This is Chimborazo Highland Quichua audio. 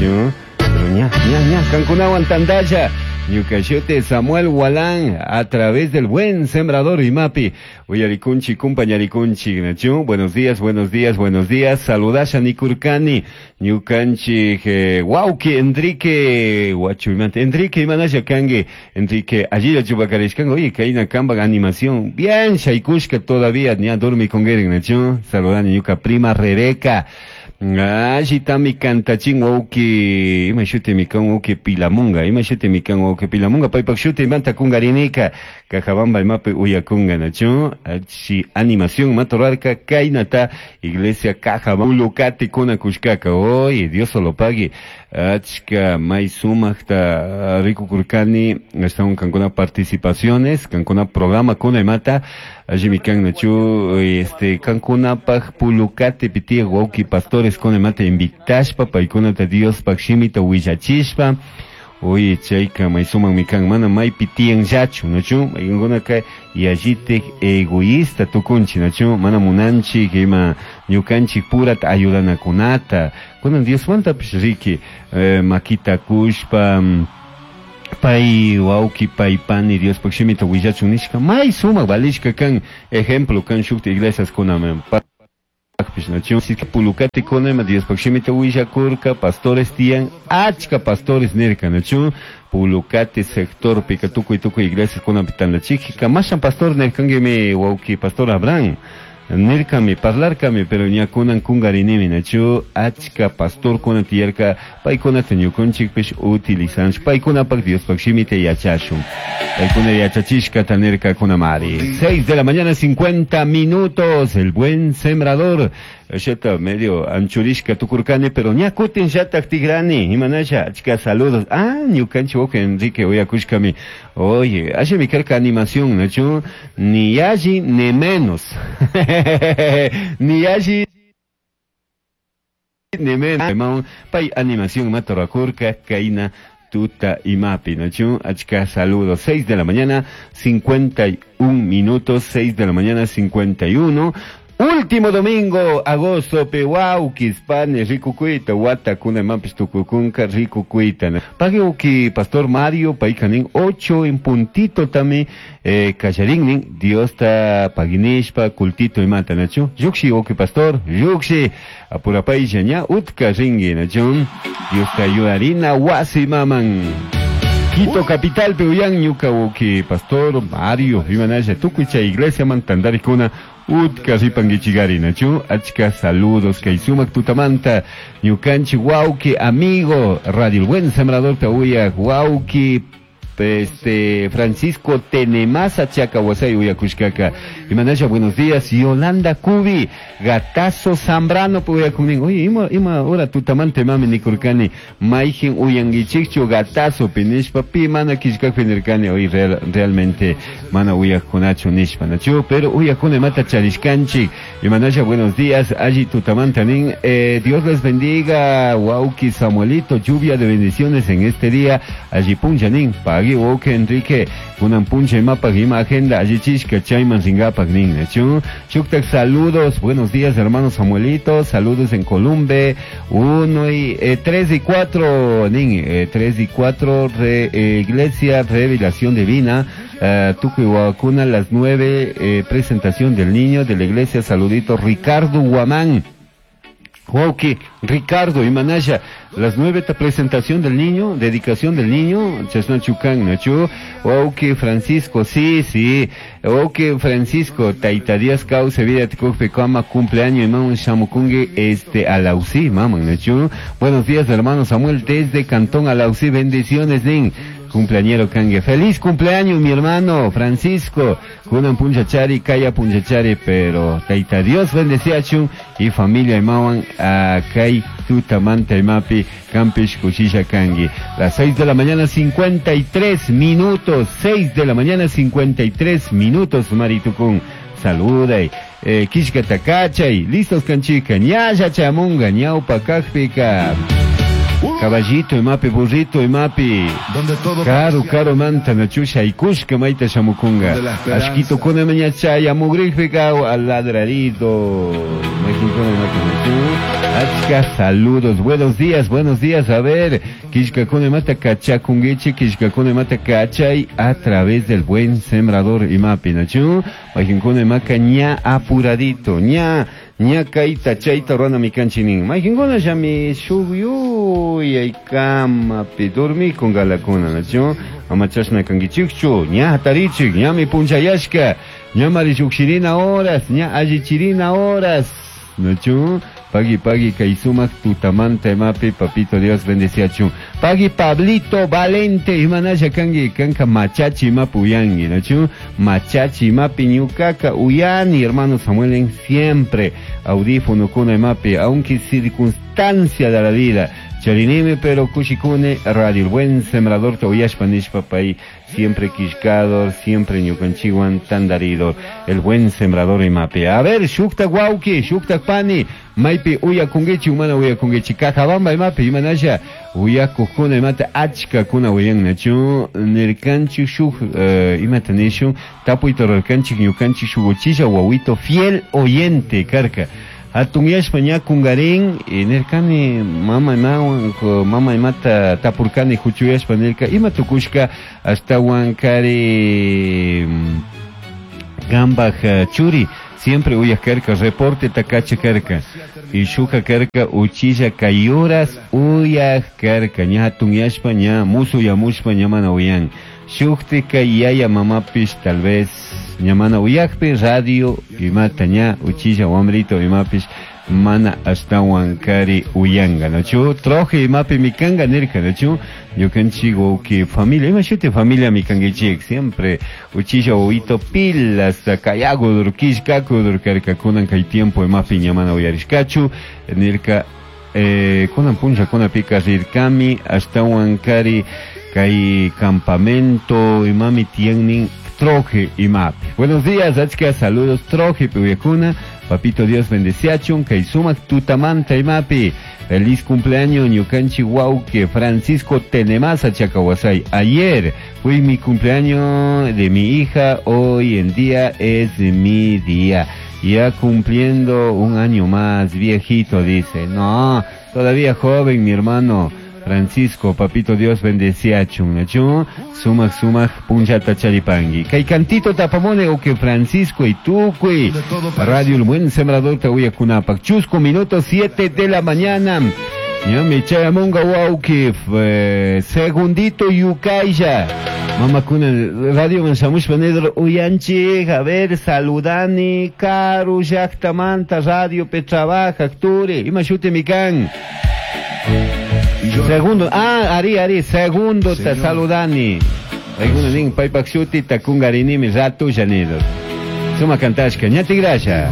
Nachu? Pero ña, ña, ña, kankunawan tandalla. Ñuka shuti Samuel Walán a través del buen sembrador imapi. Uyarikunchi, kumpañarikunchi, nachu? Buenos días, buenos días, buenos días. Saludasha nikurkani. Ñukanchik wawki Enrique Huachuimanta. Enrique imanasha kanki. Enrique, allilla chupakarishkanki. Oye, kayna kampak animación. Bien, shaykushka todavía ña dormikunkirin, nachu? Saludani ñuka prima Rebeca. Allitami kantachin wawki, ima shutimi kan wawki Pilamunga, ima shutimi kan wawki Pilamunga, paypak shutimanta kunkarinika, Cajabamba imapi uyakunga, nachu? Achi animación matorarka kaynata iglesia Cajabamba Pulukati kuna kushkaka, oye, Dios lo pague. Achka may sumakta rikukurkani, están kankuna participaciones, kankuna programa kuna imata, allimi kan nachu, este, kankunapaj Pulukati pitiyak wawki pastores kuna imata invitashpa, paykunata Diospaj shimita willachishpa. Oye, chayka may sumakmi kan, mana maypi tiyanllachu, nachu? Maykankunaka yallitik egoísta tukunchik, nachu? Mana munanchik ima ñukanchik purata ayudanakunata. Kunan Diosmantapish riki, makita kushpa, pay wawki, pay pani Diospaj shimita willachun nishka, may sumak valishka kan, ejemplo kan shukta iglesias kunaman. Nachu? Pulukati kunama Diospaj shimita willakurka, pastores tiyan, achka pastores nirka, nachu? Pulukati sectorpika tukuy tukuy iglesias kunapi tandachikpi, kamashan pastor nirkankimi wawki pastor Abraham. Nirkami, parlarkami, pero ña kunan kungarinimi, nachu? Achka pastor kuna tiyarka, paykunata ñukunchikpish utilizanchik, paykunapak Diospaj shimita yachashun. Paykuna yachachishkata nirka kunamari. 6 de la mañana, 50 minutos, el buen sembrador. Sheta medio anchurishka tukurkani, pero ña kutin shatak tigrani, imanasha, achka saludos. Ah, ñukanchik wawqi Enrique uyakushkami. Oye, asha mi karka animación, nachu? Ni alli ni menos. Ni alli ni menos. Pay animación matorakurka, kaina tuta imapi, nachu? Achka saludos. 6 de la mañana, 51 minutos, 6 de la mañana, 51. Último domingo, agosto, pewauquis, panes, ricucuita, guata, cuna, mampis, tucucunca, ricucuita. Pague pastor Mario, paicanin, 8 en puntito también, callarín, Dios ta paguinishpa, cultito y mata, nachu. Yuxi, oki pastor, yuxi, apurapay, ña, utka, ringui, nachu. Dios ta ayudarina, wasi, maman. Quito capital, Peuyán, ñuka, oki, pastor Mario, imanaya, tucuicha, iglesia, mantandaricuna, utka, ripanguichigari, nachu, achka, saludos, kaisumak, tutamanta, ñukanchi, wauki, amigo, Radio El Buen Sembrador, tauya, wauki, este, Francisco Tenemasa, Chacahuasay, uyakushkaka. Imanaya, buenos días, Yolanda Cubi, Gatazo Zambrano, uyakunin. Oye, ima, ima, ora tutamante mami nikurkani, maijin uyanguichikchu, gatazo, pinishpa, pi, mana kishkak pinirkani, oye, realmente, mana uyakunachu nishpa, nachu, pero uyakune mata charishkanchik. Imanaya, buenos días, allí tutamanta nin, Dios les bendiga, wauki Samuelito, lluvia de bendiciones en este día, allí puncha nin, pagui wauki Enrique, kunan puncha imapa ima agenda, allí chishka chayman ringapak nin, nachu. Shuktak saludos, buenos días hermano Samuelito, saludos en Columbe, 1 y 3 y 4, nin, 3 y 4, Iglesia Revelación Divina, Tucuihuacuna, las 9, presentación del niño de la iglesia, saludito Ricardo Guamán. Wauki, Ricardo y Manaya, las 9 presentación del niño, dedicación del niño, Chasna Chucán, Nachu, Wauki, Francisco, sí, sí, Wauki, Francisco, Taita Díaz Cauce, vida Ticocpe, Cama, cumpleaños, imam Shamukungue, Alausí, mamá, Nachu. Buenos días, hermano Samuel, desde Cantón Alausí, bendiciones, nin. Cumpleañero Kangue. Feliz cumpleaños, mi hermano Francisco. Kunan punchachari, kaya punchachari, pero Taita Dios bendecía chun y familia imawan a kai tutamanta imapi campish cuchilla Kangue. Las 6 de la mañana 53 minutos, 6 de la mañana 53 minutos, Maritucún. Saluda y Kishka takachay, listos canchica, ñaya chamunga, ñaupa kajpica. Caballito y mapi, burrito y mapi. Donde todo Caro, parecía caro manta, nachusha y kushka maita shamukunga. Donde la esperanza. Ashquito kuna mañachaya, mugrijpika, al ladradito. Achka saludos, buenos días, buenos días. A ver, kishkakuna imata kachakunkichik, kishkakuna imata kachay a través del buen sembrador imapi, nachu? Mayqinkuna imaka ña apuradito, ña ña kayta chayta runa mikanchik nin. Mayqinkuna llami shuk yuyaykamapi dormikun galakuna, nachu? Ama chashna kankichikchu, ña hatarichik, ñami punchayashka, ñamari lluqshirina horas, ña allichirina horas, nachu? Pagui, pagui, kay sumak tutamanta imapi, papito Dios bendeciachun. Pagui Pablito Valente, imanalla kanki, kanka machachi imapi uyangi, nachu? Machachi imapi ñukaka uyani, hermano Samuel, siempre audífono kuna imapi, aunque circunstancia de la vida. Charinime, pero kushikune, radio el buen sembrador te uyashpa nishpa pay, siempre quishkador, siempre ñukanchiwan tandaridor, el buen sembrador imapi. A ver, shukta wauki, shukta pani, maypi uyakunkichi, umana uyakunkichi, Cajabamba imapi, imanalla, uyakukuna imata achka kuna uyannachu, nirkanchik shuk, imata nishun, tapuyta rurkanchik ñukanchik shuk uchilla wawito fiel oyente karka. Hatun yashpa ña kungarin, nirkani mama imawan, mama imata tapurkani huchuyashpa nirka, ima tukushka ashtawan kari gambaj churi, siempre uyak karka, reporte takacha karka, y shuka karka uchilla kayuras uyak karka, ña hatun yashpa ña musu yamushpa ña mana uyan. Shuktika yaya mamapish tal vez ña mana uyakpi radio imata ña uchilla wamrito imapish mana ashtawan kari uyanga, nachu? Troje imapi mikanga nirka, nachu? Ñukanchik wawki familia, ima shuti familia mikankichik, siempre uchilla wawito pilas, kayakudur, kishkakudur karka, kunan kay tiempo imapi ña mana uyarishkachu, nirka, kunan punlla kunapika rirkami ashtawan kari kay campamento imami tienen troje imapi. Buenos días, achka saludos troje piuyakuna, papito Dios bendeciachun, kay sumak tutamanta imapi. Feliz cumpleaños ñukanchi wauke Francisco Tenemasa Chacahuasay. Ayer fue mi cumpleaños de mi hija, hoy en día es mi día. Ya cumpliendo un año más, viejito, dice. No, todavía joven, mi hermano Francisco, papito Dios bendecía chun, achun, sumak sumak punchata charipangi. Kay cantito tapamone o que Francisco y tucui. Radio El Buen Sembrador te voy a kunapak. Chusco, minuto 7 de la mañana. Ya me chayamunga wauki, segundito yukaya. Mama kuna radio mansamush panedro uyanchi, a ver, saludani, karu, llaktamanta, radio pe trabaja, turi, ima shute mikan. Segundo, ari, ari, segundo te saludani. Alguno nin paypak shuti takungarinimi ratu llanido. Suma kantashka, ñati grasha.